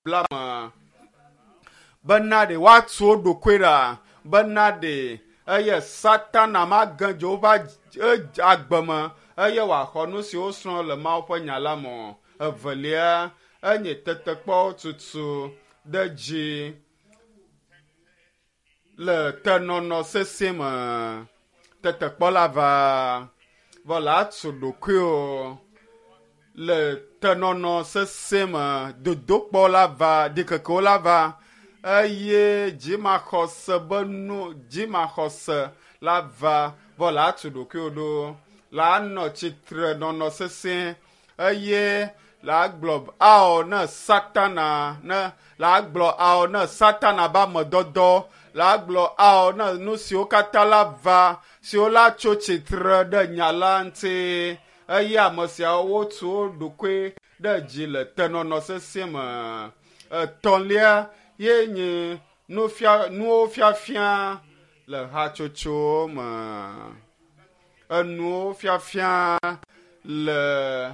babla me bena ɖe woatu wo ɖokui ɖa bena ɖe eye Satana mage dze woƒe agbe me eye wòaxɔ nu si wosrɔ̃ le Mawu ƒe nya la me o. Evelia, enye tetekpɔwo tutu ɖe dzi le tenɔnɔ sesẽ me. Tetekpɔ la va vɔ la atu ɖokuiwò le tenɔnɔ sesẽ me. Dodokpɔ la va, ɖikekewo la va eye dzimaxɔse be nu dzimaxɔse la va vɔ la atu ɖokuiwò ɖo. La nɔ tsitre nɔnɔ sesẽ eye la gblɔ ao ne Satana ne la gblɔ ao ne Satana be amedɔdɔ la gblɔ ao ne nu siwo katã la va siwo la tso tsitre ɖe nya la ŋuti eye ame siawo wotu wo ɖokui ɖe dzi le tenɔnɔ sesẽ me. Etɔ̃lia ye nye nufia nuwo fiafia le hatsotsowo me. Enuwo fiafia le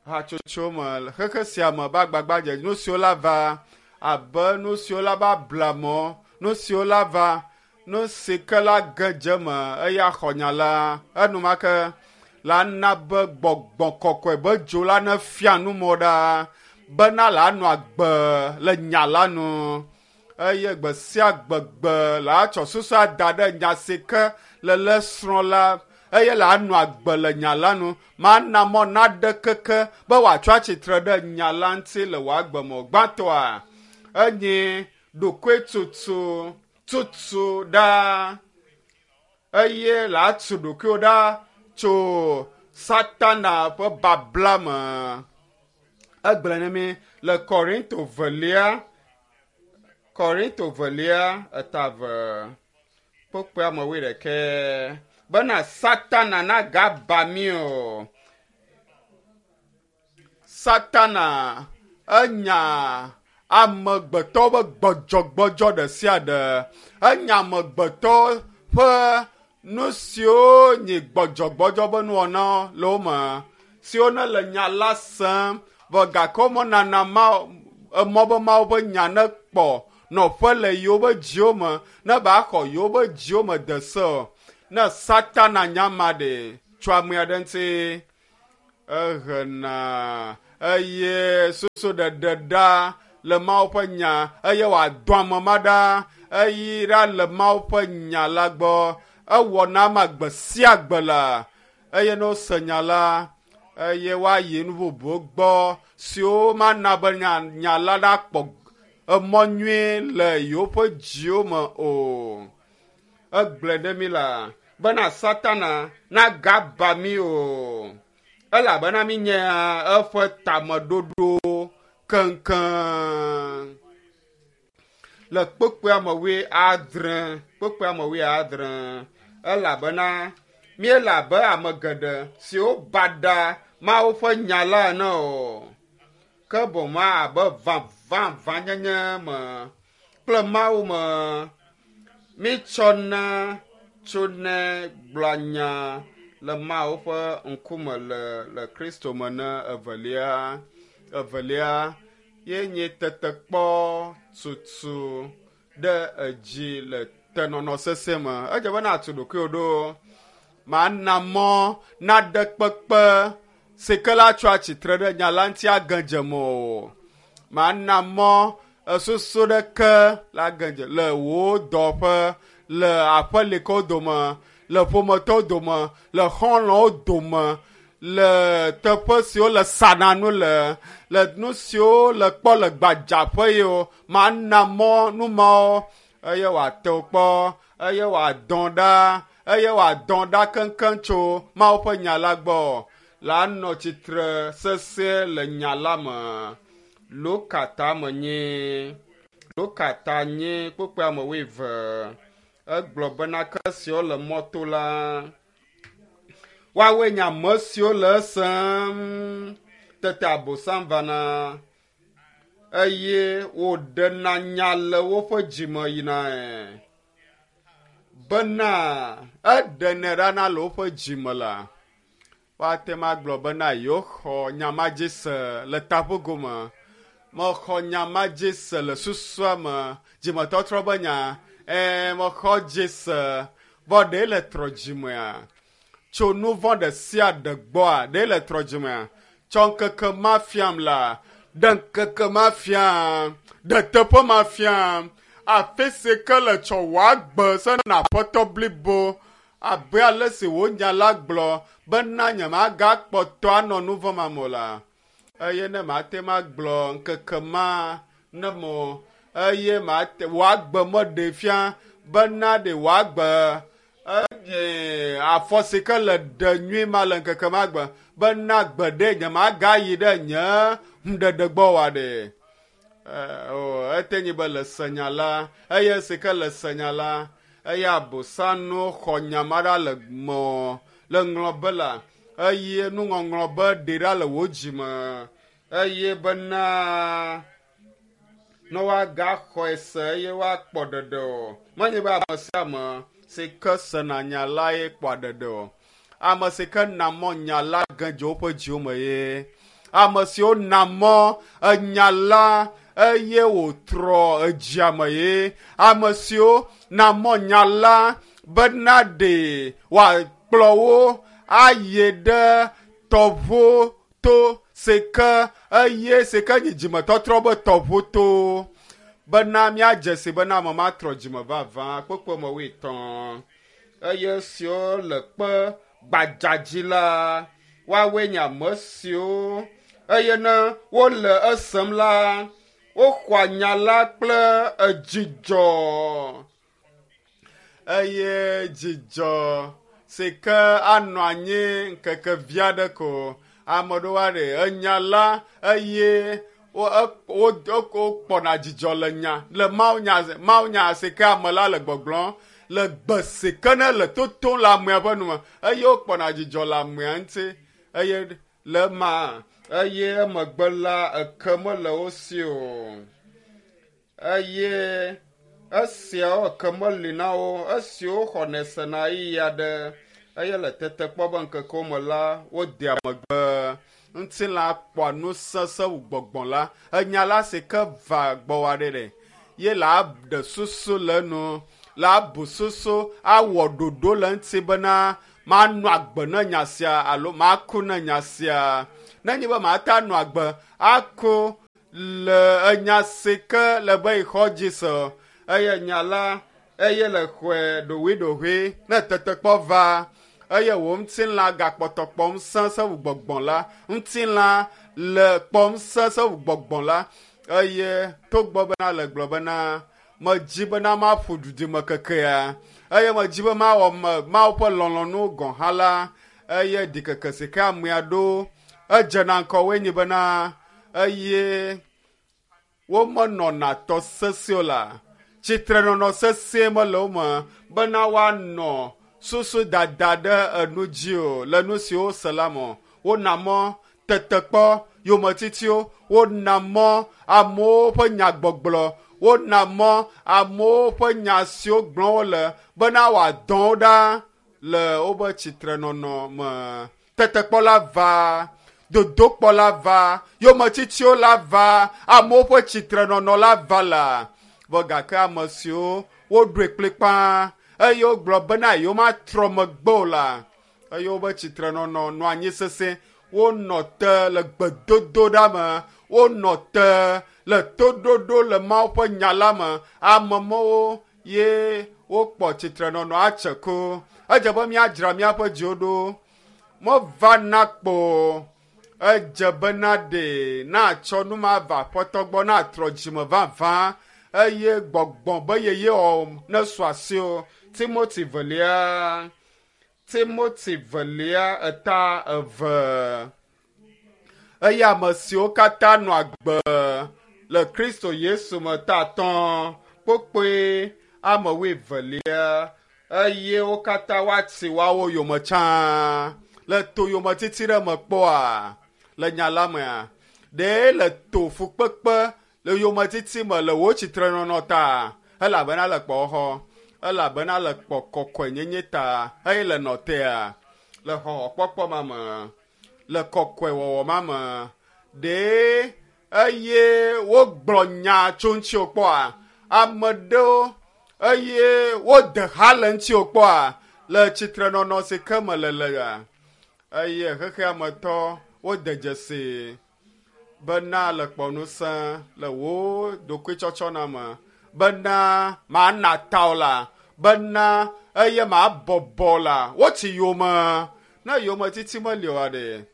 hatsotso me le xexe sia me be agbagbadze nu siwo la va abe nu siwo la va blamɔ nu siwo la va nu si ke la ge dze me eya xɔ nya la enumake la na be gbɔgbɔ kɔkɔe be dzo la ne fia nu mɔ ɖa bena la nɔ agbe le nya la nu eye gbe sia gbegbe la tsɔ susu ada ɖe nya si ke le le srɔ̃ la eye la nɔ agbe le nya la nu mana mɔ naɖe keke be wòatsɔ atsitre ɖe nya la ŋuti le wò agbe me o. Gbãtɔa enye ɖokuitutu tutu ɖa eye la tu ɖokuiwò ɖa tso Satana ƒe babla me. Egblɔ na mi le Korinto velia Korinto velia eta ve kpokpoe ame wuiɖekɛ bena Satana nagaba mí o. Satana enya amegbetɔ ƒe gbɔdzɔgbɔdzɔ ɖe sia ɖe. Enya amegbetɔ ƒe nu siwo nye gbɔdzɔgbɔdzɔ ƒe nuwɔnawo le wo me siwo ne le nya la sem vɔ gake womenana ma emɔ be Mawu ƒe nya nekpɔ nɔƒe le yewoƒe dziwo me ne ba xɔ yewoƒe dziwo me de se o. Ne Satana nya ma ɖe tso ame aɖe ŋuti ehena eye susu ɖeɖe ɖa le Mawu ƒe nya eye wòadɔ ame ma ɖa eyi ɖa le Mawu ƒe nya la gbɔ. Ewɔna ama gbe sia gbe la eye ne wose nya la eye woayi nu bubuwo gbɔ siwo mana be nya, nya la nakpɔ emɔ nyuie le yewoƒe dziwo me o. Egblɔe ɖe mi la bena Satana nagaba mí o elabena mi nye eƒe tameɖoɖo keŋkeŋ. Le kpekpea me wuiadre, kpekpea me wuiadre elabena míele abe ame geɖe siwo baɖa Mawu ƒe nya la ene o. Ke boŋ abe vavãvanyenye me kple Mawu me mítsɔna tsonɛ gblɔa nya le Mawu ƒe ŋkume le le Kristo me ne evelia evelia ye nye tetekpɔ tutu ɖe edzi le tenɔnɔ sesẽ me. Edze be natu ɖokuiwò ɖo mana mɔ naɖe kpekpe si ke la tso atsitre ɖe nya la ŋuti age dze me o. Mana mɔ esusu ɖeke la ge dze le wò dɔƒe, le aƒelikawo dome, le ƒometɔwo dome, le xɔlɔ̃wo dome, le teƒe siwo le sana nu le, le nu siwo le kpɔ le gbadzaƒe yiwo mana mɔ nu mawo eye wòate wo kpɔ eye wòadɔ ɖa eye wòadɔ ɖa keŋkeŋ tso Mawu ƒe nya la gbɔ la nɔ tsitre sesẽ le nya la me. Luka ta me nyi Luka ta nyi kpukpui ame wuieve egblɔ bena ke siwo le mɔto la woawoe nye ame siwo le esem tete Abosam vana eye wòɖena nya le woƒe dzime yinae bena eɖenɛ ɖa na le woƒe dzime la woate ŋu agblɔ bena yewoxɔ nya ma dzi se le taƒogome. Mexɔ nya ma dzi se le susua me. Dzimetɔtrɔ be nya. Ẽ, mexɔ dzi se. Vɔ ɖe le trɔ dzimea? Tso nu vɔ̃ ɖe sia ɖe gbɔa, ɖe le trɔ dzimea? Tsɔ ŋkeke ma fiam la, ɖe ŋkeke ma fiam, ɖe teƒe ma fiam, afi si ke le tsɔ wò agbe sena aƒetɔ blibo abe ale si wò nya la gblɔ bena nyemagakpɔtɔ anɔ nu vɔ̃ ma me o la. Eye ne mate ŋu agblɔ ŋkeke ma ne mo eye mate wò agbe meɖee fia bena ɖe wò agbe eye afɔ si ke le ɖe nyui ma le ŋkeke ma gbe bena gbe ɖe nyemagayi ɖe nye ŋuɖeɖe gbɔ oa ɖe. Ete nyi be le senya la eye si ke le senya la eye abosanu xɔ nya ma ɖa le mɔ le ŋlɔ be la eye nuŋɔŋlɔ be ɖe ɖa le wò dzime eye bena ne woagaxɔe se eye woakpɔ ɖeɖe o. Menye be ame sia ame si ke sena nya la ye kpɔa ɖeɖe o. Ame si ke na mɔ nya la ge dze woƒe dziwo me ye. Ame siwo na mɔ enya la eye wòtrɔ edzia me ye. Ame siwo na mɔ nya la bena ɖe wòakplɔ wo ayi ɖe tɔʋu to si ke eye si ke nyi dzimetɔtrɔ be tɔʋu to bena míadze si bena ame ma trɔ dzime vavã kpekpe me wuietɔ̃ eye siwo le kpe gbadza dzi la woawoe nye ame siwo eye ne wole esem la woxɔa nya la kple edzidzɔ eye dzidzɔ si ke anɔ anyi ŋkeke vi aɖe ko ame ɖewo aɖe enya la eye wokpɔna dzidzɔ le nya le mawunya si ke ame la le gbɔgblɔm le gbe si ke ne le totom le amea ƒe nume eye wokpɔna dzidzɔ le amea ŋuti eye le ema eye emegbe la eke mele wo si o eye esiawo eke meli na wo esiwo xɔnɛ sena ɣeyiɣi aɖe eye le tetekpɔ be ŋkekewo me la wodea megbe ŋutilã kpɔa ŋusẽ wu gbɔgbɔ la enya la si ke va gbɔwò aɖe ɖe ye la ɖe susu le enu la bu susu awɔ ɖoɖo le ŋuti bena manɔ agbe ne nya sia alo maku ne nya sia nenye be mate anɔ agbe aku le enya si ke le be yixɔ dzi se eye nya la eye le xɔe ɖoɖoeɖoɖoe ne tetekpɔ va eye wò ŋutilã gakpɔtɔ kpɔm sesẽ wu gbɔgbɔ la ŋutilã le kpɔm sesẽ wu gbɔgbɔ la eye togbɔ bena le gblɔ bena medzi bena maƒu dudime kekea eye medzi be mawɔ Mawu ƒe lɔlɔ̃nu gɔ̃ hã la eye ɖikeke si ke amea ɖo edzena ŋkɔwoe nyi bena eye womenɔna tɔ sesẽ o la tsitrenɔnɔ sesẽ mele wo me bena woanɔ susu dada ɖe enu dzi o le nu siwo wose la me. Wona mɔ tetekpɔ yometitiwo, wona mɔ amewo ƒe nyagbɔgblɔ, wona mɔ amewo ƒe nya siwo gblɔm wole bena wòadɔ wo ɖa le woƒe tsitrenɔnɔ me. Tetekpɔ la va, dodokpɔ la va, yometitiwo la va, amewo ƒe tsitrenɔnɔ la va la. Vɔ gake ame siwo woɖoe kplikpaa eye wogblɔ bena yewomatrɔ megbe o la, eye woƒe tsitrenɔnɔ nɔ anyi sesẽ. Wonɔ te le gbedodoɖa me, wonɔ te le toɖoɖo le Mawu ƒe nya la me. Ame mawo ye wokpɔ tsitrenɔnɔ atse ko. Edze be míadzra míaƒe dziwo ɖo. Mevana kpo edze bena ɖe natsɔ nu ma va aƒetɔ gbɔ natrɔ dzime vavã eye gbɔgbɔ be yeye wɔ ne su asiwò. Timoti velia Timoti velia eta eve eye ame siwo katã nɔ agbe le Kristo Yesu me ta atɔ̃ kpokpoe ame wuievelia eye wo katã woatsi woawo yome tsã le to yometiti ɖe me kpɔa le nya la mea ɖe le to fukpekpe le yometiti me le wò tsitrenɔnɔ ta elabena le kpɔxɔ elabena le kpɔ kɔkɔenyenye ta eye le nɔ tea le xɔxɔkpɔkpɔ ma me le kɔkɔewɔwɔ ma me ɖe eye wogblɔ nya tso ŋutiwò kpɔa? Ame ɖewo eye wode ha le ŋutiwò kpɔa? Le tsitrenɔnɔ si ke me le lea, eye xexea me tɔ wode dzesi bena le kpɔ ŋusẽ le wò ɖokuitsɔtsɔna me, bena mana ta o la, bena eye mabɔbɔ la, wotsi yome. Ne yometiti meli oa ɖe,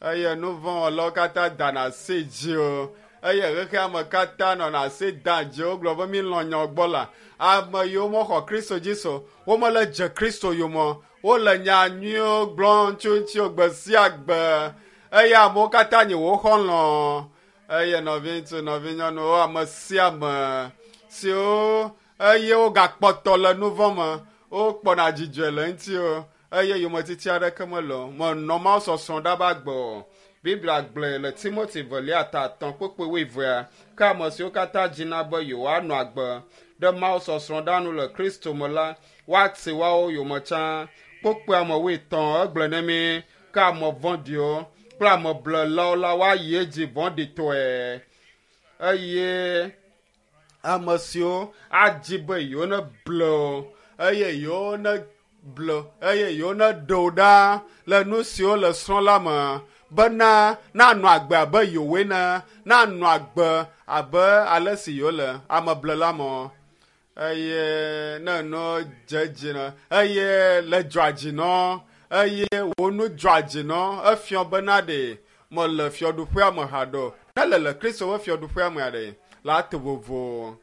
eye nu vɔ̃ wɔlawo katã dana asi dzi o, eye xexea me katã nɔna asi dam dzi wogblɔ be mi lɔ̃ nyawo gbɔ la, ame yiwo mexɔ Kristo dzi se o, womele dze Kristo yome o, wole nya nyuiwo gblɔm tso ŋutiwò gbe sia gbe, eye amewo katã nye wò xɔlɔ̃. Eye nɔviŋutsu, nɔvinyɔnuwo, ame sia ame siwo eye wogakpɔtɔ le nu vɔ̃ me, wokpɔna dzidzɔe le ŋutiwò, eye yometiti aɖeke mele o. Menɔ Mawu sɔsrɔ̃ ɖa be agbe o. Biblia gblɔe le Timothy velia ta etɔ̃ kpukpui wuievea, ke ame siwo katã dzina be yewoanɔ agbe ɖe Mawu sɔsrɔ̃ ɖa nu le Kristo me la, woati woawo yome tsã. Kpukpui ame wuietɔ̃ egblɔe ne mí, ke ame vɔ̃ɖiwo kple ame blelawo la woayi edzi vɔ̃ɖitɔe, eye ame siwo adzi be yewo ne ble o, eye yewo ne ble eye yewo ne ɖe wo ɖa le nu siwo le srɔ̃ la me, bena nanɔ agbe abe yewoe ne, nanɔ agbe abe ale si yewo le ame blela me. Eye ne nu dze dzi na, eye le dzɔa dzi nɔ, eye wò nu dzɔa dzi nɔ, efiɔ bena ɖe mele fiaɖuƒea me haɖe o. Ne le le Kristo ƒe fiaɖuƒea mea ɖe, la to vovo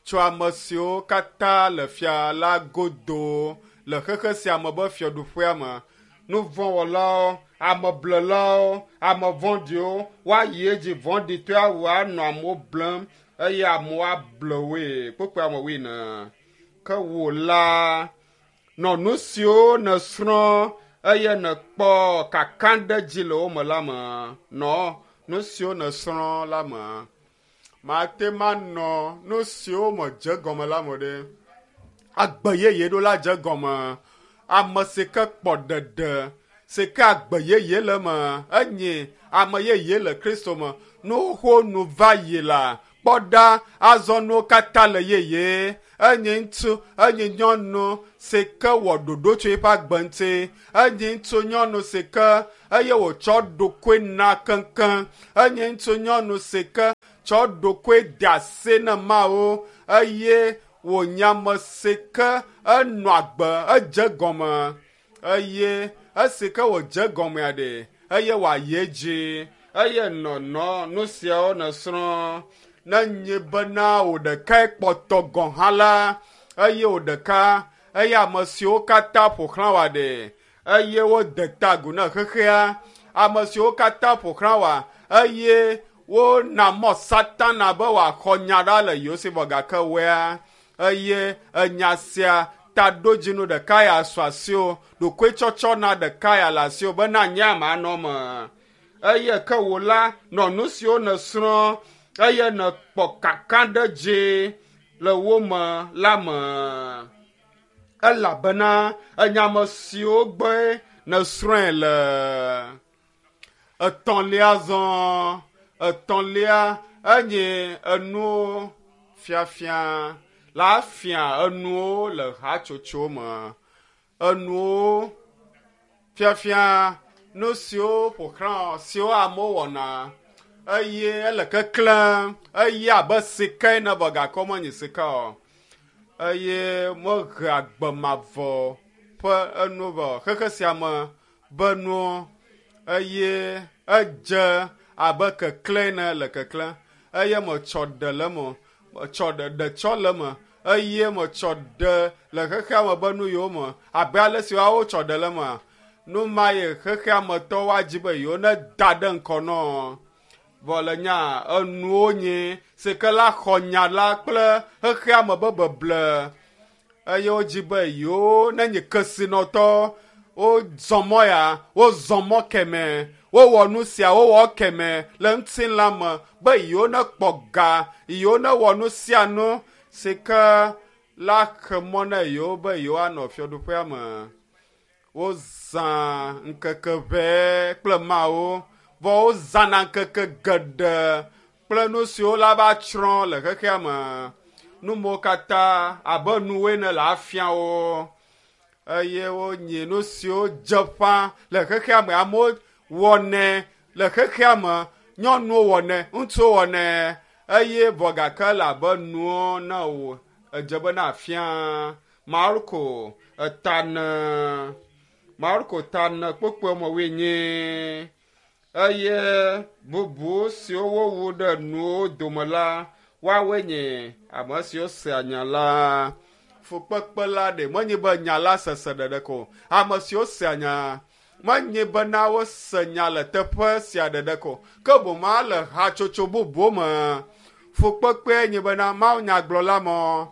tso ame siwo katã le fia la godo le xexe sia me be fiaɖuƒea me. Nu vɔ̃wɔlawo, ame blelawo, ame vɔ̃ɖiwo, woayi edzi vɔ̃ɖitɔe awu anɔ amewo blem eye amewo able woe. Kpukpui ame wuiene. Ke wò la, nɔ nu siwo nèsrɔ̃ eye nèkpɔ kakaɖedzi le wo me la me. Nɔ nu siwo nèsrɔ̃ la me. Mate manɔ nu siwo me dze gɔme la me ɖe. Agbe yeye ɖo la dze gɔme. Ame si ke kpɔ ɖeɖe, si ke agbe yeye le eme, enye ame yeye le Kristo me. Nu xoxo nu va yi la, kpɔ ɖa, azɔ nuwo katã le yeye. Enye ŋutsu, enye nyɔnu si ke wɔ ɖoɖo tso eƒe agbe ŋuti. Enye ŋutsu, nyɔnu si ke eye wòtsɔ ɖokui na keŋkeŋ. Enye ŋutsu, nyɔnu si ke tsɔ ɖokui de asi ne Mawu eye wònye ame si ke enɔ agbe edze gɔme eye esi ke wòdze gɔmea ɖe eye wòayi edzi eye nɔnɔ nu siawo nèsrɔ̃. Ne nye bena wò ɖekae kpɔtɔ gɔ̃ hã la, eye wò ɖeka eye ame siwo katã ƒo xlã wòa ɖe eye wode ta agu na xexea, ame siwo katã ƒo xlã wòa eye wona mɔ Satana be wòaxɔ nya ɖa le yewo si vɔ gake woea eye enya sia taɖodzinu ɖeka ya su asiwò, ɖokuitsɔtsɔ na ɖeka ya le asiwò bena nye ame anɔ eme. Eye ke wò la, nɔ nu siwo nèsrɔ̃ eye nèkpɔ kakaɖedzi le wo me la me. Elabena enya ame siwo gbɔe nèsrɔ̃e le. Etɔ̃lia zɔ, etɔ̃lia enye enuwo fiafia la fia enuwo le hatsotso me. Enuwo fiafia nu siwo ƒo xlã siwo amewo wɔna eye ele keklẽm eye abe sika ene vɔ gake menye sika o. Eye mehe agbe mavɔ ƒe enu vɔ xexe sia me be nuwo eye edze abe keklẽ ene le keklẽ eye metsɔ ɖe le eme, metsɔ ɖe ɖetsɔ le eme eye metsɔ ɖe le xexea me be nu yiwo me abe ale si woawo tsɔ ɖe le emea, nu ma ye xexea me tɔwo adzi be yewo ne da ɖe ŋkɔ nɔ. Vɔ le nya enuwo nye si ke la xɔ nya la kple xexea me be beble eye wodzi be yewo ne nye kesinɔtɔ wozɔ mɔ ya, wozɔ mɔ keme, wowɔ nu sia, wowɔ keme le ŋutilã me be yewo ne kpɔ ga, yewo ne wɔ nu sia nu si ke la xe mɔ na yewo be yewoanɔ fiaɖuƒea me. Wozã ŋkeke ʋɛ kple Mawu, vɔ wozãna ŋkeke geɖe kple nu siwo la va tsrɔ̃ le xexea me. Numewo katã abe nuwoe ne le afia wo eye wonyi nu siwo dze ƒã le xexea me. Amewo wɔnɛ le xexea me, nyɔnuwo wɔnɛ, ŋutsuwo wɔnɛ eye vɔ gake le abe nuwo ne wò edze be na afia. Marko etane Marko tane kpokpoe me wuienyi eye bubu siwo wowu ɖe nuwo dome la, woawoe nye ame siwo sea nya la. Fukpekpe la ɖe menye be nya la sese ɖeɖe ko. Ame siwo sea nya menye bena wose nya le teƒe sia ɖeɖe ko, ke boŋ le hatsotso bubuwo me. Fukpekpee nye bena Mawu nyagblɔla mɔ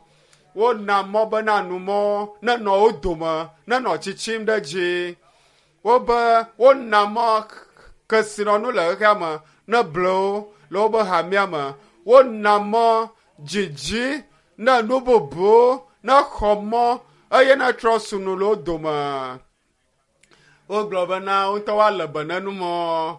wona mɔ bena numɔ nenɔ wo dome, nenɔ tsitsim ɖe dzi. Wobe wona mɔ kesinɔnu le xexea me neble wo le wobe hamea me. Wona mɔ dzidzi ne nu bubuwo nexɔ mɔ eye netrɔ sunu le wo dome. Wogblɔ bena wo ŋutɔ woalé be ne numɔ.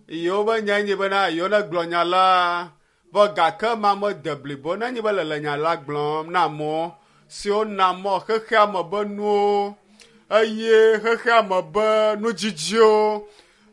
Yewo be nyae nye bena yewo negblɔ nya la. Vɔ gake ma mede blibo nenye be le le nya la gblɔm na amewo siwo na mɔ xexea me be nuwo eye xexea me be nudzidziwo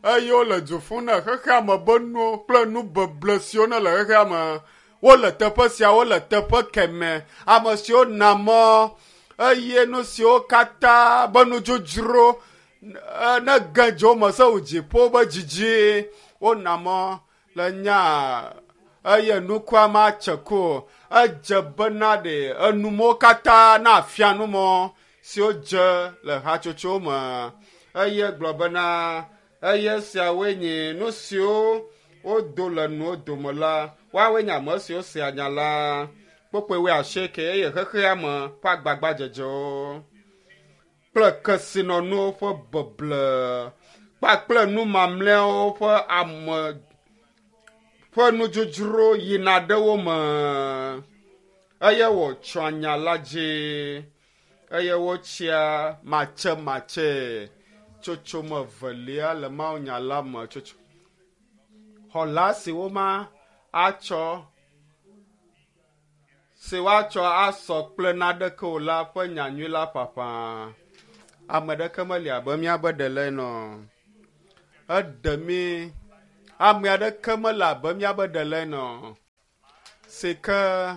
eye wole du ƒum na xexea me be nuwo kple nu beble siwo ne le xexea me. Wole teƒe sia, wole teƒe kemɛ. Ame siwo na mɔ eye nu siwo katã be nudzodzro ne ge dzo me se wo dziƒo be dzidzi wona mɔ le nya eye nukua matse ku o. Edze bena ɖe enumɔwo katã na afia numɔ siwo dze le hatsotsowo me eye gblɔ bena eye siawoe nye nu siwo wodo le nuwo dome la, woawoe nye ame siwo sea nya la. Kpokpoe wuiasieke eye xexea me ƒe agbagbadzedzewo kple kesinɔnuwo ƒe beble kpakple nu mamlɛawo ƒe ame ƒe nudzodzro yina ɖe wo me eye wòtsɔa nya la dzi eye wotsia matsematse. Tsotsome evelia le mawunya la me tsotso xɔla si woma atsɔ si woatsɔ asɔ kple naneke o la ƒe nyanyui la ƒaƒã. Ame ɖeke meli abe míabe ɖela ene o. Eɖe mí. Ame aɖeke mele abe míabe ɖela ene o. Si ke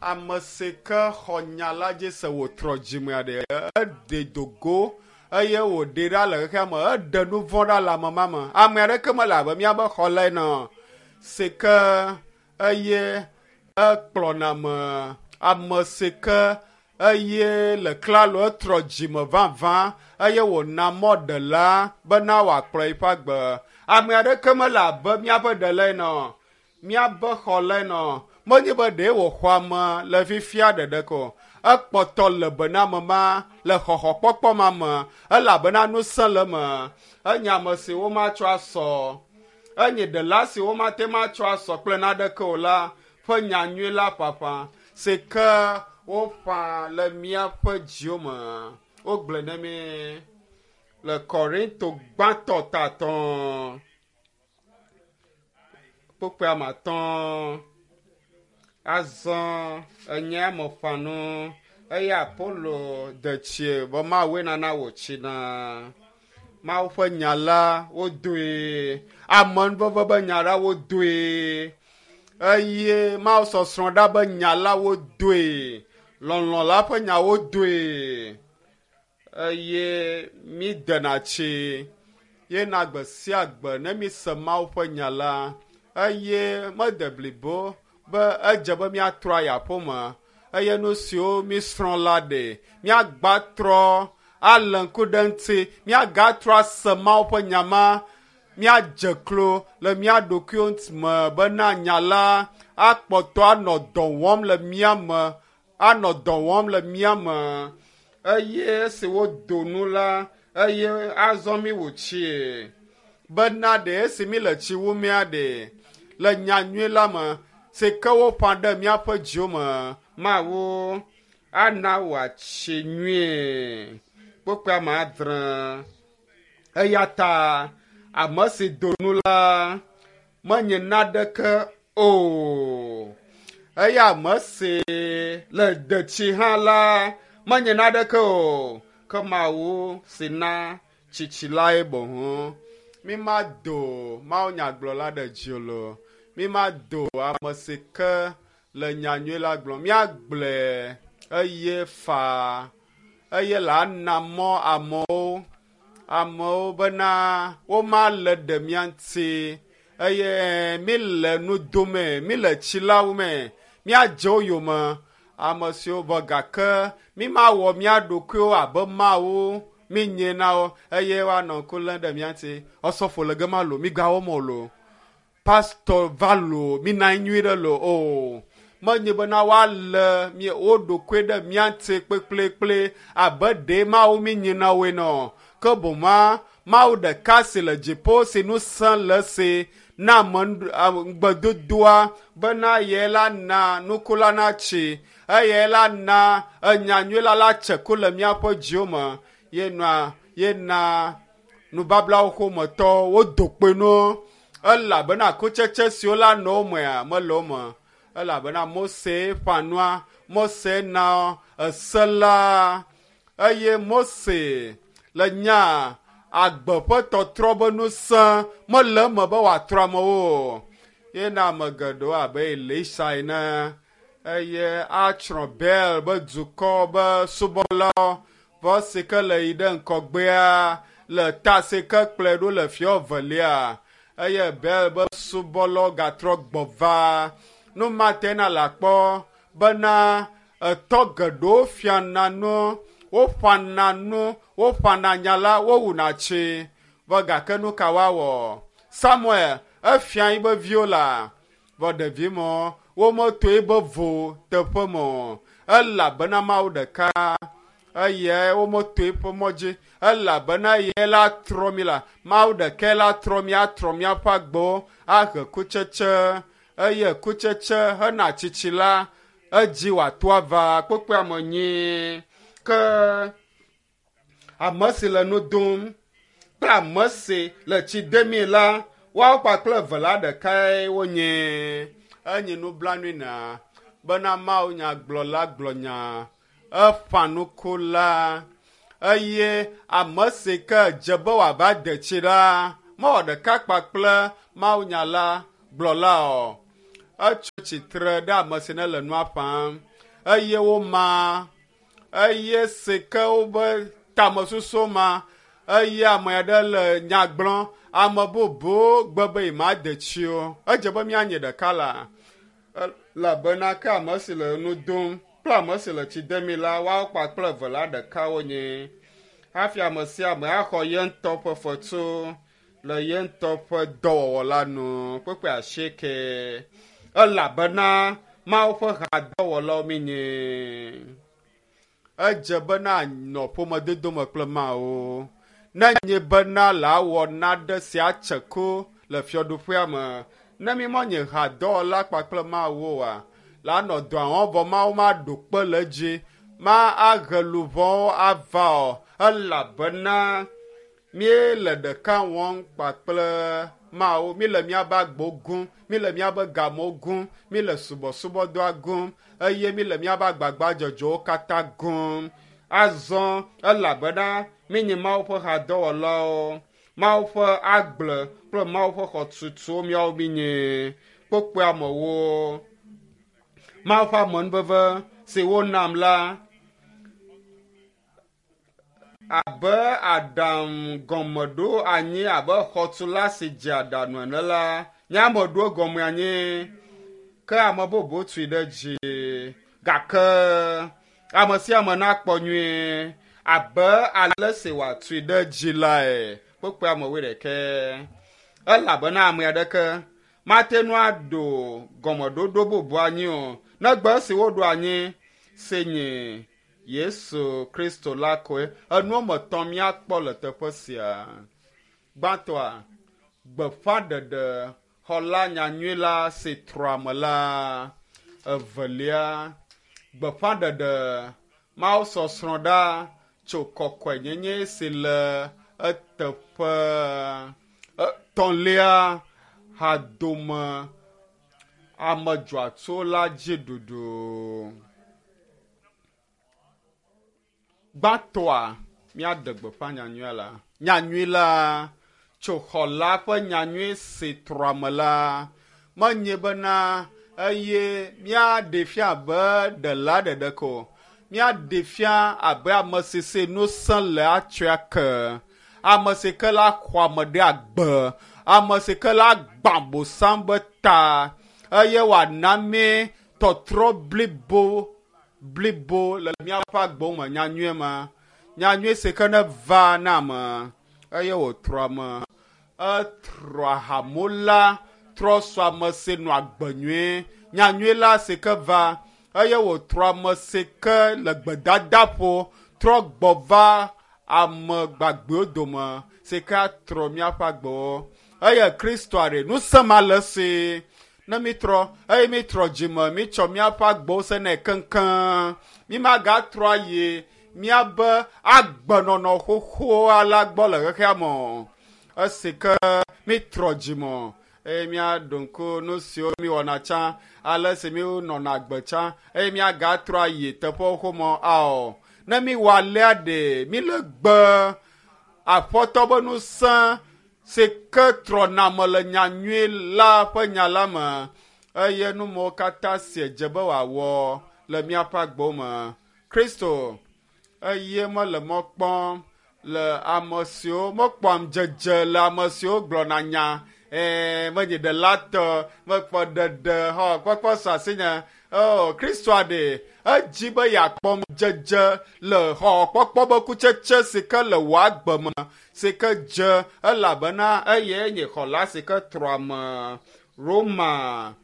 ame si ke xɔ nya la dzi se wòtrɔ dzimea ɖe eɖe do go eye wòɖe ɖa le xexea me eɖe nu vɔ̃ ɖa le ame ma me. Ame aɖeke mele abe míabe xɔla ene o. Si ke eye ekplɔna me ame si ke eye le klalo etrɔ dzime vavã eye wòna mɔ ɖela bena wòakplɔ eƒe agbe. Ame aɖeke mele abe míaƒe ɖela ene o, míabe xɔla ene o. Menye be ɖee wòxɔ ame le fifia ɖeɖe ko o. Ekpɔtɔ le be na ame ma le xɔxɔkpɔkpɔ ma me elabena ŋusẽ le eme. Enye ame si womatsɔ asɔ. Enye ɖela si womate ŋu atsɔ asɔ kple naneke o la ƒe nyanyui la ƒaƒã si ke woƒã le míaƒe dziwo me. Wogblɔe na mí le Korinto gbãtɔ tatɔ kpukpui ame atɔ̃. Azɔ enye ame ƒã nu eye Apolo de tsie vɔ Mawue nana wòtsina. Mawu ƒe nya la wodoe, amenuveve be nya la wodoe eye Mawu sɔsrɔ̃ ɖa be nya la wodoe, lɔlɔ̃ la ƒe nya wodoe eye mídena tsi ye na gbe sia gbe ne míse Mawu ƒe nya la eye mede blibo be edze be míatrɔ ayi aƒeme eye nu siwo mísrɔ̃ la ɖe míagba trɔ alé ŋku ɖe ŋuti, míagatrɔ ase Mawu ƒe nya ma, míadze klo le mía ɖokuiwo me bena nya la akpɔtɔ anɔ dɔ wɔm le mía me, anɔ dɔ wɔm le mía me. Eye esi wodo nu la, eye azɔ mí wu tsie bena ɖe esi mí le tsi wum mía ɖe le nyanyui la me si ke woƒã ɖe míaƒe dziwo me. Mawu ana wòatsi nyuie. Kpukpui ame adre. Eya ta ame si do nu la menye naneke O, eya ame si le detsi hã la menye naneke o, ke Mawu si na tsitsi lae boŋ. Mi ma do mawunyagblɔla ɖe dzi o lo. Mi ma do ame si ke le nyanyui la gblɔm. Míagblɔe eye faa eye la na mɔ amewo amewo bena woma le ɖe mía ŋuti eye mi le nu dome, mi le tsilawo me, míadze wo yome ame siwo vɔ gake mi mawɔ mía ɖokuiwo abe Mawu mi nye na wo eye woanɔ ŋku lém ɖe mía ŋuti. Ɔsɔfo le gema lo, mi gawɔ mɔ lo. Pastor va lo, mi na anyi nyuie ɖe lo o. Menye bena woalé mí wo ɖokui ɖe mía ŋuti kpekpekpe abe ɖe Mawu mi nye na woe nɔ. Ke boŋ Mawu ɖeka si le dziƒo si ŋusẽ le esi na ame ŋugbedodoa bena ye la na nuku la natsi eye la na enyanyui la la tse ku le míaƒe dziwo me. Ye nɔa ye na nubablawo ƒometɔwo wodo kpe nu elabena kutsetse siwo la nɔ wo mea mele wo me elabena Mose ƒã nua, Mose na ese la eye Mose le nya agbe ƒe tɔtrɔ be ŋusẽ mele eme be wòatrɔ amewo o. Ye na ame geɖewo abe Elisa ene eye atsrɔ̃ Baal be dukɔ be subɔlawo vɔ si ke le yi ɖe ŋkɔgbea le ta si ke kplɔe ɖo le fia evelia eye Baal be subɔlawo gatrɔ gbɔ va. Nu ma te na le akpɔ bena etɔ geɖewo fiana nu, woƒana nu, woƒana nya la, wowuna tsi. Vɔ gake nu ka woawɔ? Samuel efia yi be viwo la, vɔ ɖevi mɔ wometo yi be vo teƒe me o elabena Mawu ɖeka eye wometo eƒe mɔ dzi elabena eye la trɔ mi la Mawu ɖekae la trɔ mi atrɔ míaƒe agbewo ahe kutsetse eye kutsetse hena tsitsi la edzi wòato ava kpekpea me nyuie. Ke ame si le nu dom kple ame si le tsi demii la, woawo kpakple eve la ɖekae wonye. Enye nublanui na bena Mawu nyagblɔla gblɔ nya eƒã nuku la eye ame si ke dze be wòava de tsi la mewɔ ɖeka kpakple mawunya la gblɔla o. Etso tsitre ɖe ame si ne le nua ƒãm eye woma eye si ke wobe tamesusu ma eye ame aɖe le nya gblɔm ame bubu gbe be yemade tsi o. Edze be míanye ɖeka la elabena ke ame si le nu dom kple ame si le tsi demii la woawo kpakple eve la ɖeka wonye. Hafi ame sia ame axɔ ye ŋutɔ ƒe fetu le ye ŋutɔ ƒe dɔwɔwɔ la nu kpekpe asieke elabena Mawu ƒe hadɔwɔlawo míenye. Edze bena nɔ ƒomedodo me kple Mawu. Ne nye bena la wɔ nane si atse ku le fiaɖuƒea me. Ne mi menye hadɔwɔla kpakple Mawu oa, la nɔ dɔa wɔm vɔ Mawu maɖo kpe le edzi, ma ahe luʋɔwo ava o elabena míele ɖeka wɔm kpakple Mawu. Míle míaƒe agbewo gum, míle míaƒe gamewo gum, míle subɔsubɔdɔa gum eye míle míaƒe agbagbadzedzewo katã gum. Azɔ elabena míenye Mawu ƒe hadɔwɔlawo, Mawu ƒe agble kple Mawu ƒe xɔtutuwo míawo míenye. Kpokpoe amewo. Mawu ƒe amenuveve si wonam la abe aɖaŋu gɔmeɖo anyi abe xɔtula si dze aɖaŋu ene la, nye ame ɖo gɔme anyi ke ame bubu tui ɖe dzi. Gake ame sia ame nakpɔ nyuie abe ale si wòatui ɖe dzi lae. Kpekpe ame wuiɖekɛ. Elabena ame aɖeke mate ŋu aɖo gɔmeɖoɖo bubu anyi o negbe esi woɖo anyi si nye Yesu Kristo la koe. Enu woame etɔ̃ míakpɔ le teƒe sia. Gbãtɔa, gbeƒãɖeɖe xɔla nyanyui la si trɔ ame la. Evelia, gbeƒãɖeɖe Mawu sɔsrɔ̃ ɖa tso kɔkɔenyenye si le eteƒe. Etɔ̃lia, hadome. Ame dzɔatso la dzi ɖuɖu. Gbãtɔa, míaɖe gbeƒã nyanyuia la. Nyanyui la tso xɔla ƒe nyanyui si trɔame la menye bena eye míaɖe fia abe ɖela ɖeɖe ko. Míaɖe fia abe ame si si ŋusẽ le atsɔe ake. Ame si ke la xɔ ame ɖe agbe. Ame si ke la gbã bosam be ta eye wòana mí tɔtrɔ blibo blibo le míaƒe agbewo me nyanyui ma. Nyanyui si ke ne va na ame eye wòtrɔ ame. Etrɔ ahamola, trɔ sɔ ame si nɔ agbe nyui. Nyanyui la si ke va eye wòtrɔ ame si ke le gbedadaƒo trɔ gbɔ va ame gbagbewo dome si ke atrɔ míaƒe agbewo. Eye Kristoa ɖe ŋusẽ ma le esi ne mítrɔ eye mítrɔ dzime mítsɔ míaƒe agbewo se nɛ keŋkeŋ. Mímagatrɔ ayi míabe agbenɔnɔ xoxoa la gbɔ le xexea me o. Esi ke mítrɔ dzime eye míaɖo ŋku nu siwo míwɔna tsã, ale si míenɔna agbe tsã eye míagatrɔ ayi teƒewo xoxo ao. Ne míwɔ alea ɖe míle gbe aƒetɔ be ŋusẽ si ke trɔna me le nyanyui la ƒe nya la me eye numewo katã si dze be wòawɔ le míaƒe agbewo me. Kristo eye mele mɔ kpɔm le ame siwo mekpɔam dzedze le ame siwo gblɔna nya menye ɖela tɔ mekpɔ ɖeɖe xɔ kpɔkpɔ sɔ asinye. O Kristoa ɖe edzi be yeakpɔm dzedze le xɔxɔkpɔkpɔ be kutsetse si ke le wò agbe me si ke dze elabena eye nye xɔla si ke trɔ ame. Roma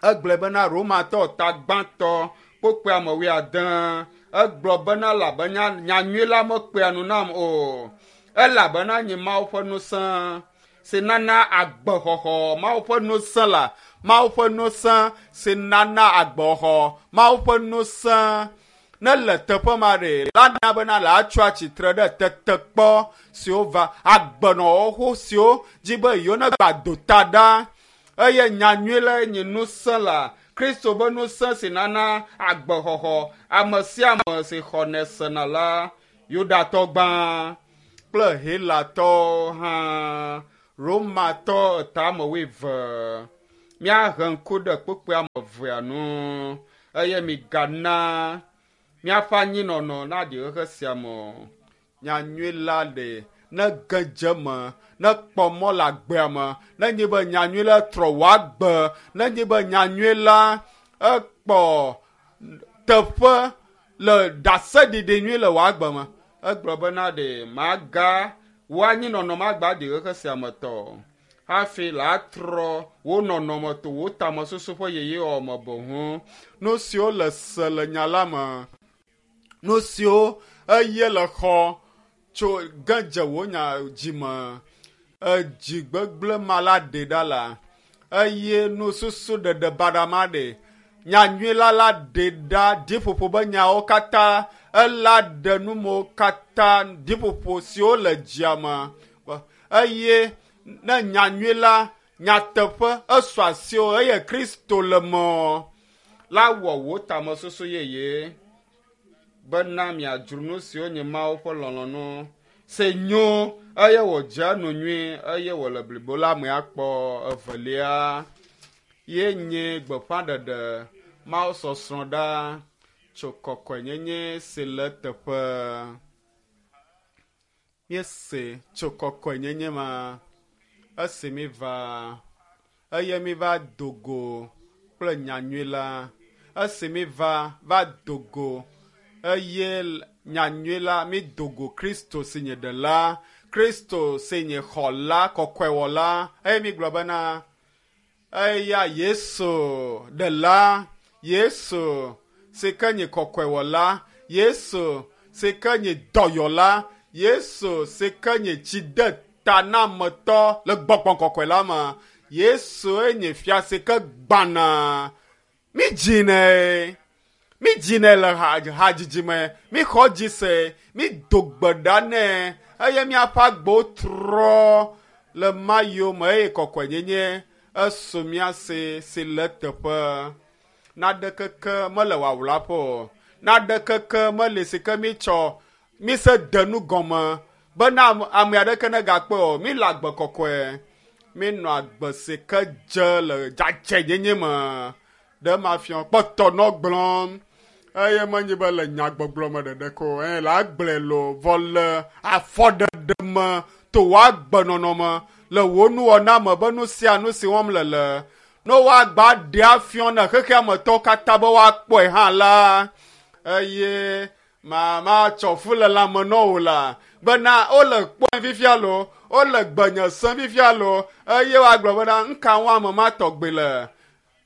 egblɔe bena Romatɔ ta gbãtɔ kpokpe ame wuiade egblɔ bena elabena nyanyui la mekpea nu nam o elabena nye Mawu ƒe ŋusẽ si nana agbexɔxɔ Mawu ƒe ŋusẽ la Mawu ƒe ŋusẽ si nana agbexɔxɔ Mawu ƒe ŋusẽ ne le teƒe ma ɖe la na bena le atsɔ atsitre ɖe tetekpɔ siwo va agbenɔxoxo siwo dzi be yewo ne gba do ta ɖa eye nyanyui la nye ŋusẽ la Kristo be ŋusẽ si nana agbexɔxɔ ame sia ame si xɔnɛ sena la Yudatɔ gbã kple Helatɔwo hã Romatɔ etame wuieve. Míahe ŋku ɖe kpukpui ame evea nu eye migana míaƒe anyinɔnɔ naɖi xexe sia me o. Nyanyui la ɖe ne ge dze me, ne kpɔ mɔ le agbea me, ne nyi be nyanyui la trɔ wò agbe, ne nyi be nyanyui la ekpɔ teƒe le ɖaseɖiɖi nyui le wò agbe me. Egblɔ bena ɖe maga wò anyinɔnɔ magba ɖi xexe sia me tɔ o. Hafi la trɔ wò nɔnɔme to wò tamesusu ƒe yeyewɔwɔ me boŋ. Nu siwo le se le nya la me, nu siwo eye le xɔ tso ge dze wò nya dzi me, edzi gbegblẽ ma la ɖe ɖa la eye nususu ɖeɖe baɖa ma ɖe nyanyui la la ɖe ɖa ɖiƒoƒo be nyawo katã ela ɖe numewo katã ɖiƒoƒo siwo le dzia me eye ne nyanyui la nyateƒe esɔ asiwò eye Kristo le me la wɔ wò tamesusu yeye bena miadzro nu siwo nye Mawu ƒe lɔlɔ̃nu si nyo eye wòdze nu nyui eye wòle blibo la me akpɔ. Evelia ye nye gbeƒãɖeɖe Mawu sɔsrɔ̃ ɖa tso kɔkɔenyenye si le teƒe. Míese tso kɔkɔenyenye ma esi míva eye míva do go kple nyanyui la. Esi míva va do go eye nyanyui la mído go Kristo si nye ɖela, Kristo si nye xɔla kɔkɔewɔla eye mígblɔ bena eya Yesu ɖela, Yesu si ke nye kɔkɔewɔla, Yesu si ke nye dɔyɔla, Yesu si ke nye tsidetanametɔ le gbɔgbɔ kɔkɔe la me. Yesu nye fia si ke gbãna. Mídzinɛ, mídzinɛ le hadzidzi me, míxɔ dzi se, mído gbe ɖa nɛ eye míaƒe agbewo trɔ le ma yome eye kɔkɔenyenye Esu mía si si le teƒe. Naɖekeke mele wawlaƒe o. Naɖekeke meli si ke mítsɔ míse de nu gɔme bena ame aɖeke negakpɔe o. Míle agbe kɔkɔe. Míenɔ agbe si ke dze le dzadzɛnyenye me. Ɖe ma fiɔ kpɔtɔ nɔ gblɔm eye menye be le nyagbɔgblɔ me ɖeɖe ko eye le agblɔe lo vɔ le afɔɖeɖe me to wò agbenɔnɔ me le wò nuwɔna me be nu sia nu si wɔm le le ne woagba ɖe afiɔ ne xexea me tɔwo katã be woakpɔe hã la eye ma matsɔ fu le lãme nɔ wò la bena wole kpɔe fifia lo wole gbenye sem fifia lo eye woagblɔ bena ŋka wɔm ame ma tɔgbe le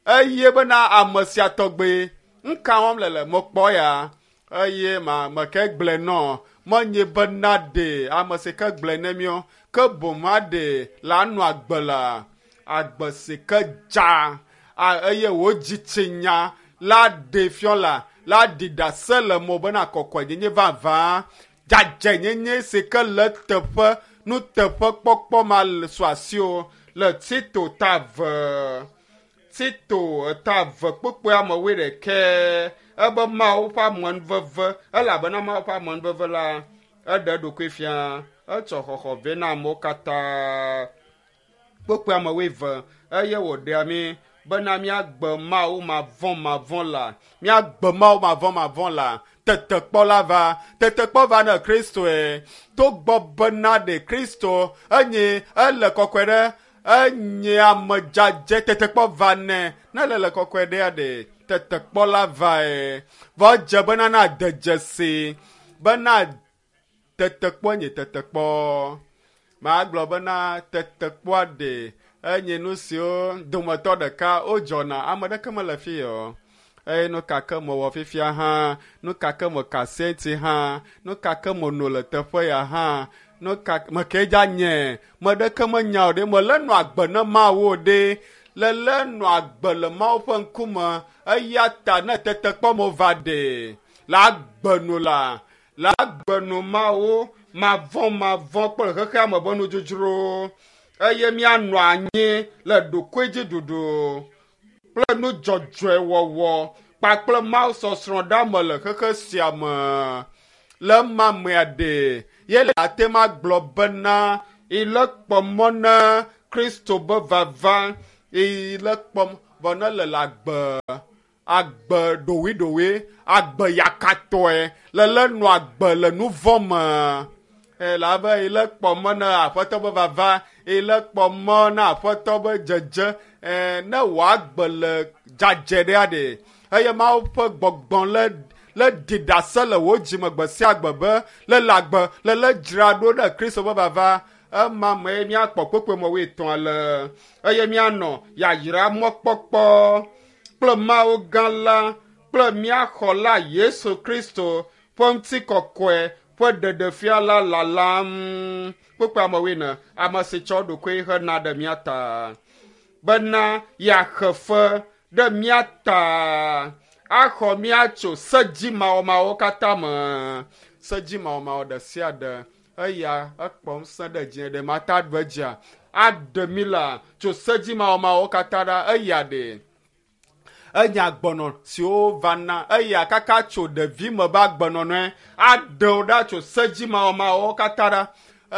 eye bena ame sia tɔgbe ŋka wɔm le le mekpɔ ya eye ma meke gblɔe nɔ menye bena ɖe ame si ke gblɔe ne míɔ ke boŋ ma ɖe la nɔ agbe la agbe si ke dza eye wò dzitsinya la ɖe fiɔ la la ɖi ɖase le mo bena kɔkɔenyenye vavã dzadzɛnyenye si ke le teƒe nuteƒekpɔkpɔ ma le su asiwò le Tito ta ve Tito ta ve kpukpui ame wuiɖekɛ ebe Mawu ƒe amenuveve elabena Mawu ƒe amenuveve la eɖe eɖokui fia etsɔ xɔxɔ vɛ na amewo katã kpukpui ame wuieve eye wòɖea mí bena míagbe Mawu mavɔ̃mavɔ̃ la míagbe Mawu mavɔ̃mavɔ̃ la tetekpɔ la va tetekpɔ va ne Kristoe togbɔ bena ɖe Kristo enye ele kɔkɔe ɖe enye ame dzadzɛ tetekpɔ va nɛ ne ele le kɔkɔe ɖea ɖe tetekpɔ la vae vɔ edze bena na de dzesi bena tetekpɔ nye tetekpɔ magblɔ bena tetekpɔa ɖe enye nu siwo dometɔ ɖeka wodzɔna ame ɖeke mele fi o eye nu ka ke mewɔ fifia hã nu ka ke meka senti hã nu ka ke meno le teƒe ya hã nu ka meke dza nye me ɖeke menya o ɖe mele nɔ agbe ne Mawu o ɖe lele nɔ agbe le Mawu ƒe ŋkume eya ta ne tetekpɔ me va ɖe le agbe nu la le agbe nu Mawu mavɔ̃ mavɔ̃ kple xexea me ƒe nudzodzro eye míanɔ anyi le ɖokuidziɖuɖu kple nu dzɔdzɔe wɔwɔ kpakple Mawu sɔsrɔ̃ ɖe le xexe sia me. Le ema mea ɖe ye le ate ŋu agblɔ bena ile kpɔ mɔ na Kristo be vava ile kpɔm vɔ ne le le agbe agbe ɖowiɖowi agbe yakatɔe le le nɔ agbe le nu vɔ̃ me elabe ile kpɔ mɔ na aƒetɔ be vava ile kpɔ mɔ na aƒetɔ be dzedze ne wòagbe le dzadzɛ ɖea ɖe eye Mawu ƒe gbɔgbɔ le le ɖi ɖase le wò dzime gbe sia gbe be le le agbe le le dzra ɖo ɖe Kristo ƒe vava ema mee míakpɔ kpekpe mɔ wuietɔ̃a le eye míanɔ yayra mɔkpɔkpɔ kple Mawu gã la kple mía xɔla Yesu Kristo ƒe ŋutikɔkɔe ƒe ɖeɖefia la lalam. Kpukpui ame wuiene, ame si tsɔ eɖokui hena ɖe mía ta bena yeaxe fe ɖe mía ta axɔ mía tso sedzimawɔmawɔwo katã me. Sedzimawɔmawɔ ɖe sia ɖe eya ekpɔ ŋusẽ ɖe dzi ɖe mata ɖu edzia aɖe mí la tso sedzimawɔmawɔwo katã ɖa eya ɖe enye agbenɔ siwo vana eya kaka tso ɖevi me be agbenɔnɔe aɖewo ɖa tso sedzimawɔmawɔwo katã ɖa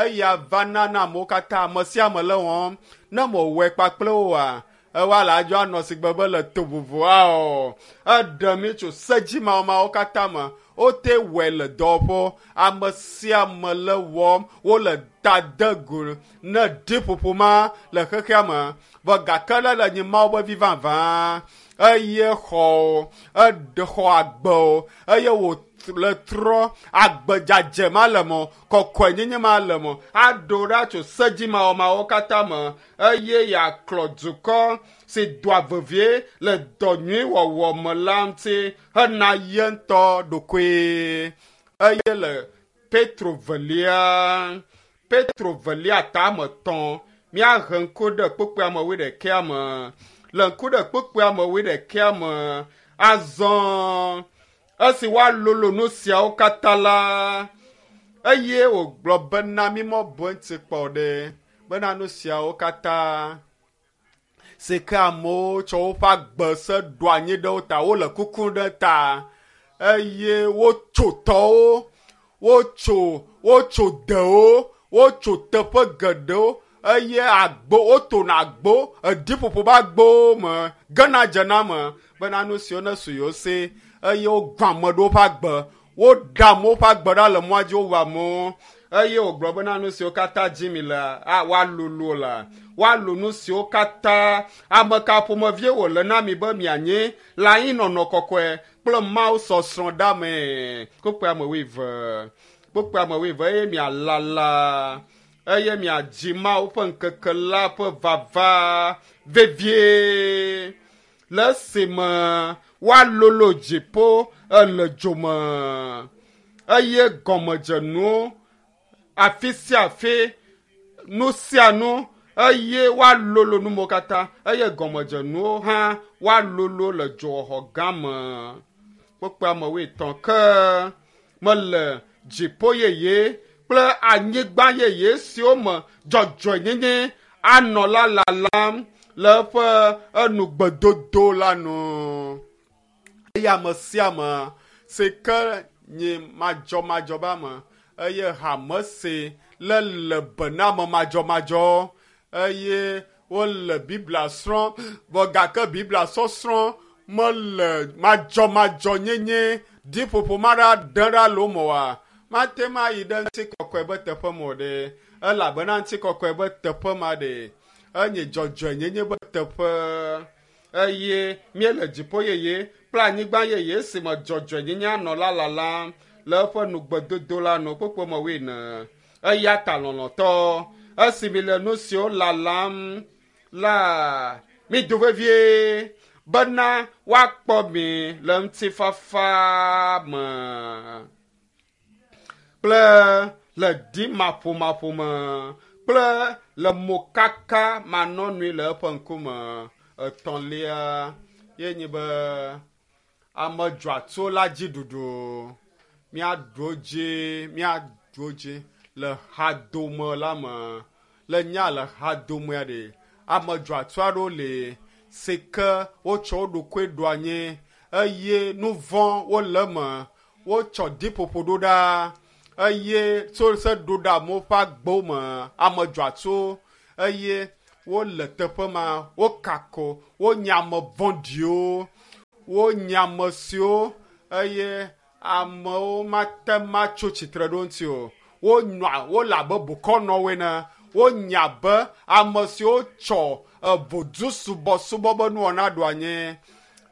eya vana na amewo katã ame sia ame le wɔm ne mewɔe kpakple woa ewa le adzɔ anɔ si gbe be le to vovoa o eɖe mi tso sedzimawɔmawɔwo katã me wote wɔe le dɔwɔƒewo ame sia ame le wɔm wole ta de go ne ɖiƒoƒo ma le xexea me vɔ gake le le nyi Mawu be vi vavã eye xɔ eɖe xɔ agbe o eye wò le trɔ agbe dzadzɛ ma le mɔ kɔkɔenyenye ma le mɔ aɖo ɖa tso sedzimawɔmawɔwo katã me eye yeaklɔ dukɔ si doa vevie le dɔ nyui wɔwɔ me la ŋuti hena ye ŋutɔ ɖokoe eye le Petro velia Petro velia tame tɔ̃ míahe ŋku ɖe kpukpui ame wuiɖekɛa me le ŋku ɖe kpukpui ame wuiɖekɛa me azɔ esi woalolo nu siawo katã la eye wògblɔ bena mímɔ bu eŋuti kpɔ ɖe bena nu siawo katã Si ke amewo tsɔ woƒe agbe se ɖo anyi ɖe wo ta, wole kuku ɖe ta eye wotso tɔwo, wotso wotso dewo, wotso teƒe geɖewo eye agbo wotona agbo ediƒoƒo be agbowo me gena dzena me bena nu siwo ne su yewo si eye wogbã ame ɖewo ƒe agbe, woɖe amewo ƒe agbe ɖa le mɔa dzi wowu amewo eye wògblɔ bena nu siwo katã dzi mi le a woalolo la woalo nu siwo katã ame ka ƒomevie wòle na mi be mianyi le anyinɔnɔ kɔkɔe kple Mawu sɔsrɔ̃ ɖame. Kpukpui ame wuieve, kpukpui ame wuieve eye mialala eye miadzi Mawu ƒe ŋkeke la ƒe vava vevie le esime woalolo dziƒo ele dzo me eye gɔmedzenuwo afi sia afi nu sia nu eye woalolo numewo katã eye gɔmedzenuwo hã woalolo le dzoxɔxɔ gã me. Kpukpui ame wuietɔ̃ ke mele dziƒo yeye kple anyigba yeye siwo me dzɔdzɔenyenye anɔ la lalam le eƒe enugbedodo la nu. Eye ame sia ame si ke nyi madzɔmadzɔ be ame eye hame si le le be na ame madzɔmadzɔ eye wole Biblia srɔ̃m vɔ gake Biblia sɔsrɔ̃ mele madzɔmadzɔnyenye ɖiƒoƒo ma ɖa ɖe ɖa le wo me oa, mate ŋu ayi ɖe ŋutikɔkɔe be teƒe me o ɖe elabena ŋutikɔkɔe be teƒe ma ɖe enye dzɔdzɔenyenye be teƒe eye míele dziƒo yeye kple anyigba yeye si me dzɔdzɔenyenye anɔ la lalam le eƒe nugbedodo la nu kpukpui me wuiene. Eya ta lɔlɔ̃tɔ, esi mi le nu siwo lalam la, mido vevie bena woakpɔ mi le ŋutifafa me kple le ɖimaƒomaƒo me kple le mokaka manɔnui le eƒe ŋkume. Etɔ̃lia ye nyi be ame dzɔatso la dzi ɖuɖu. Míaɖu wo dzi, míaɖu wo dzi le hadome la me. Le nya le hadomea ɖe, ame dzɔatso aɖewo li si ke wotsɔ wo ɖokui ɖo anyi eye nu vɔ̃ wole eme. Wotsɔ ɖiƒoƒo ɖo ɖa eye tso se ɖo ɖe amewo ƒe agbewo me. Ame dzɔatso eye wole teƒe ma, wokako, wonye ame vɔ̃ɖiwo, wonye ame siwo eye amewo mate ŋu atso tsitre ɖe wo ŋuti o. Wonɔa wole abe bokɔnɔwo ene. Wonye abe ame siwo tsɔ evodu subɔsubɔ be nuwɔna ɖo anyi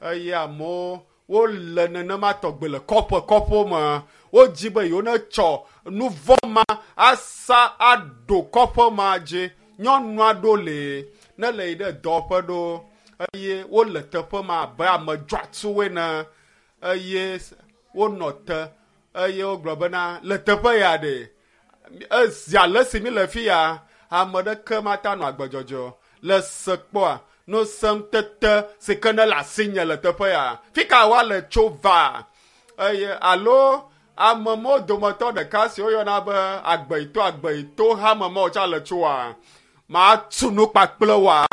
eye amewo wole nenema tɔgbe le kɔƒe kɔƒewo me. Wodzi be yewo netsɔ nu vɔ̃ ma asa aɖo kɔƒe ma dzi. Nyɔnu aɖewo li ne le yi ɖe dɔwɔƒe ɖo eye wole teƒe ma abe ame dzɔatsuwo ene eye wonɔ te eye wogblɔ bena le teƒe ya ɖe ezi ale si mi le fi ya ame ɖeke mate anɔ agbe dzɔdzɔ o. Le se kpɔa nu sem tete si ke ne le asinye le teƒe ya fi ka woale tso va eye alo ame mawo dometɔ ɖeka si woyɔna be agbeyito agbeyito hame mawo tsa le tsoa matu nu kpakple woa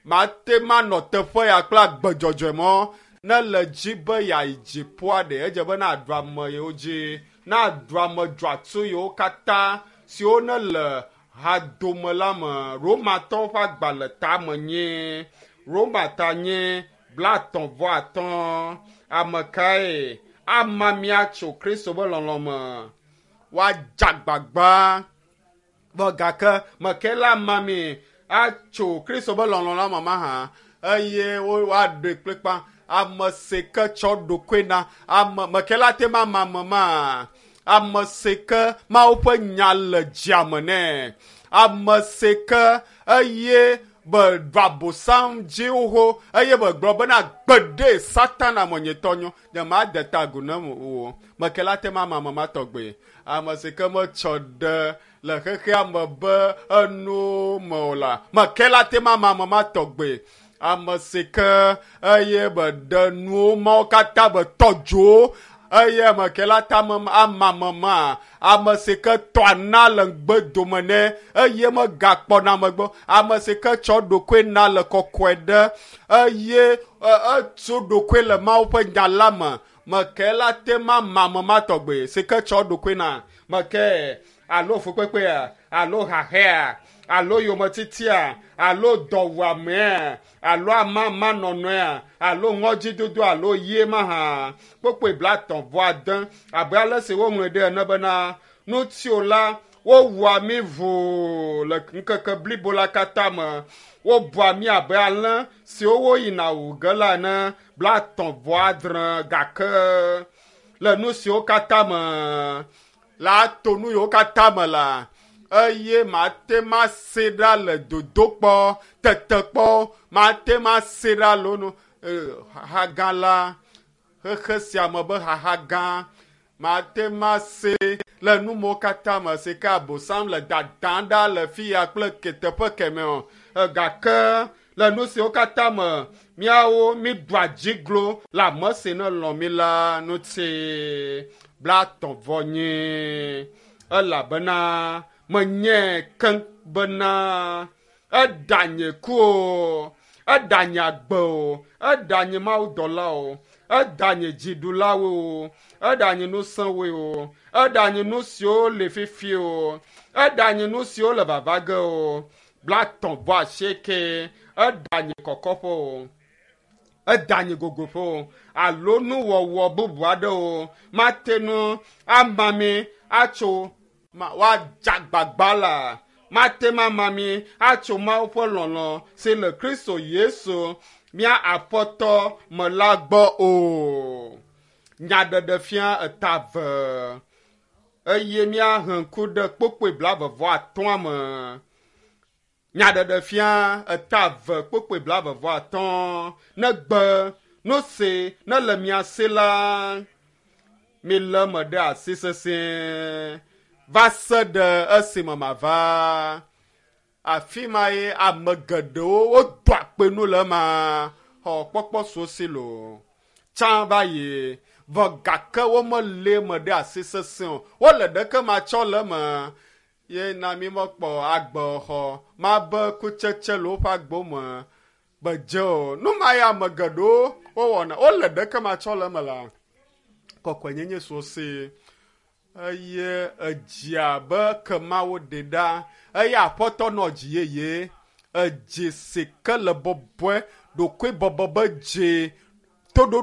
mate manɔ teƒe ya kple agbe dzɔdzɔe mɔ ne le dzi be yeayi dziƒoa ɖe edze be naɖu ame yiwo dzi naɖu ame dzɔatsu yiwo katã siwo ne le hadome la me. Romatɔwo ƒe agbalẽ tame nye Roma ta nye blaetɔ̃ vɔ atɔ̃. Ame kae ama míatso Kristo be lɔlɔ̃ me? Woadze agbagba vɔ gake meke la ama mi atso Kristo be lɔlɔ̃ la me mahã eye woaɖoe kplikpa. Ame si ke tsɔ ɖokui na ame meke la te ma ama ame ma. Ame si ke Mawu ƒe nya le dziame nɛ. Ame si ke eye be ɖu abosam dzi xoxo eye be gblɔ bena gbeɖe Satana menyetɔ nyo nye made ta agu ne o. Meke la te ma ama ame ma tɔgbe. Ame si ke metsɔ ɖe le xexea me be enu me o la, meke la te ma ama ame ma tɔgbe. Ame si ke eye be ɖe nuwo mawo katã be tɔ dzo Eye ame ke la ta ame amamema, ame si ke tɔa na le ŋugbe dome nɛ eye megakpɔna megbe, ame si ke tsɔ ɖokoe na le kɔkɔe ɖe eye etso ɖokoe le Mawu ƒe nya la me. Meke la te ma mamema tɔgbe si ke tsɔ ɖokoe na. Meke alo fukpekpea, alo hahea, alo yometitia, alo dɔwuamea, alo amamanɔnɔea, alo ŋɔdzidodo, alo yie mahã. Kpokpoe 39 abe ale si woŋlɔe ɖe ene bena ŋutsu la wowua mí ʋuu le ŋkeke blibo la katã me. Wobua mí abe alẽ siwo woyina wu ge la ene 36 gake le nu siwo katã me la to nu yiwo katã me la eye mate ma se ɖa le dodokpɔ tetekpɔ mate ma se ɖa le nu xaxa gã la xexe sia me be xaxa gã mate ma se le nu mawo katã me si ke Abosam le dadam ɖa le fi ya kple teƒe kemɛ o. Gake le nu siwo katã me míawo míɖua dziglo le ame si ne lɔ̃ mí la ŋuti 34 elabena menye keŋ bena eɖanye ku o, eɖanye agbe o, eɖanye mawudɔla o, eɖanye dziɖulawo o, eɖanye ŋusẽwoe o, eɖanye nu siwo le fifi o, eɖanye nu siwo le vava ge o, 38 eɖanye kɔkɔƒe o, eɖanye gogoƒe o, alo nuwɔwɔ bubu aɖe o, mate ŋu ama mi atso woadze agbagba la mate ŋu ama mi atso Mawu ƒe lɔlɔ̃ si le Kristo Yesu mía Aƒetɔ me la gbɔ o. Nyaɖeɖefia eta 2 eye míahe ŋku ɖe kpokpoe 40 me. Nyaɖeɖefia eta 2 kpokpoe 40 negbe nu si ne le mia si la milé me ɖe asi sesĩe va se ɖe esime mava. Afi ma ye ame geɖewo wodoa akpe nu le ema xɔ kpɔkpɔ so si lo tsã va yi vɔ gake womelé me ɖe asi sesẽ o. Wole ɖeke matsɔ le eme ye na mi mekpɔ agbexɔ mabe kutsetse le woƒe agbo me bedze o. Nu ma ye ame geɖewo wowɔna wole ɖeke matsɔ le eme la kɔkɔenyenye so si eye edzia be kemawo ɖe ɖa eye aƒetɔ nɔ dzi yeye edzi si ke le bɔbɔe ɖokoe bɔbɔ be dzi toɖoɖo.